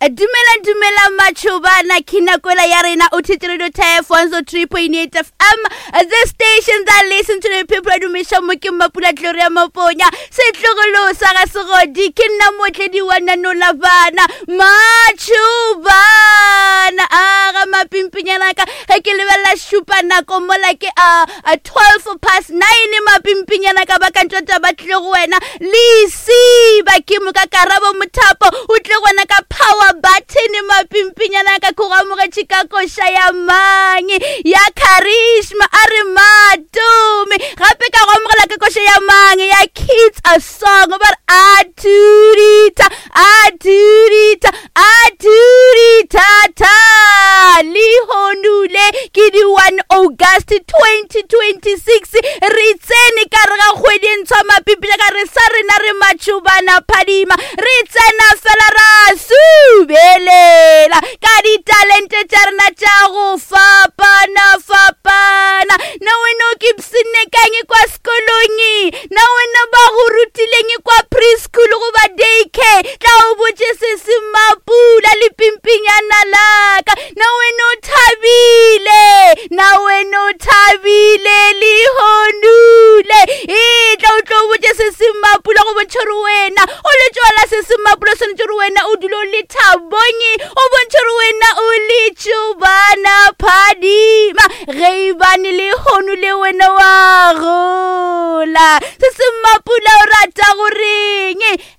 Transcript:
Dumela dumela matšhobana ke nakola ya rena o thetse radio tef 103.8 FM the station that listen to the people dumiša mo ke mmapula Gloria Maponya setlogolo sa ga segodi ke nna motledi wa nanola bana matšhobana a ga mapimpinyana ka ge ke lebelela šupa nako mola ke a 12 past 9 mapimpinyana ka ba ka ntšwa taba tlile go wena lesiba ke moka karabo mothapo o tle go wena ka power button mapimpinyana ka ko go amogetše ka koša ya mang ya charisma a re matome gape ka go amogela ka koša ya mang ya kids a song ba re a turita a turita a turitata lehonule ke di 1 August 2026 re tsene ka re ga kgwedi e ntshwa mapipile ka re sa rena re matšhobana phadima re tsena fela ra subelela ka ditalente tša rena tša go fapana fapana na wena o ke psenne kang kwa sekolong na wena ba go rutileng kwa preschool goba daycare tla o botše se se mapula le pimpinyana laka na wena o thabile na wena o thabile lehonule e tla o tlo botše se se mapula go bontšha gore wena o le tšwala se se mapula o swanetše gore wena o dule o le thabonye o bontšha gore wena o le tšobana phadima ge e bane lehono le wena wa gola se se mapula o rata goreng?